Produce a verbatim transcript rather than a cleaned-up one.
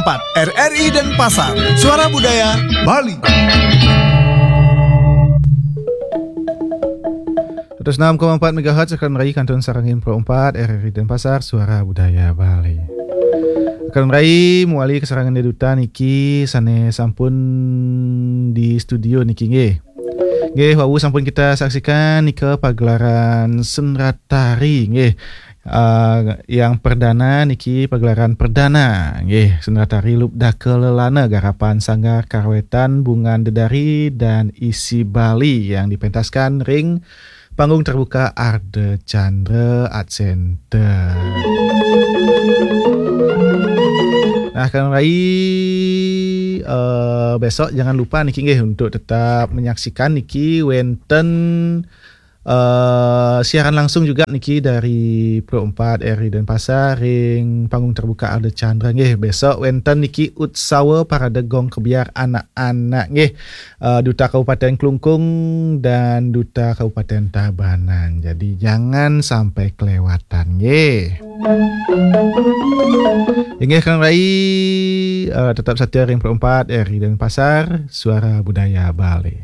empat R R I Denpasar, Suara Budaya Bali. Seratus enam koma empat megahertz, Akal Rai kantun sareng Pro empat R R I Denpasar, Suara Budaya Bali. Akal Rai mewali kesarengan duta niki sane sampun di studio niki nggih. Nggih, wau sampun kita saksikan nika pagelaran sendratari nggih. Uh, yang perdana niki pagelaran perdana nggih, sendratari Lubdaka Lelana garapan Sanggar Karawetan Bungan Dedari dan Isi Bali yang dipentaskan ring panggung terbuka Arda Chandra Art Center. Nah, Kang Rai, uh, besok jangan lupa niki nggih untuk tetap menyaksikan niki wenten uh, siaran langsung juga niki dari Pro empat R I Denpasar ring panggung terbuka Arda Chandra nggih. Besok wenten niki Utsawa Parade Gong Kebyar anak-anak nggih. Uh, Duta Kabupaten Klungkung dan Duta Kabupaten Tabanan. Jadi jangan sampai kelewatan nggih. Inggih Kang Rai, uh, tetap setia ring Pro empat R I Denpasar, Suara Budaya Bali.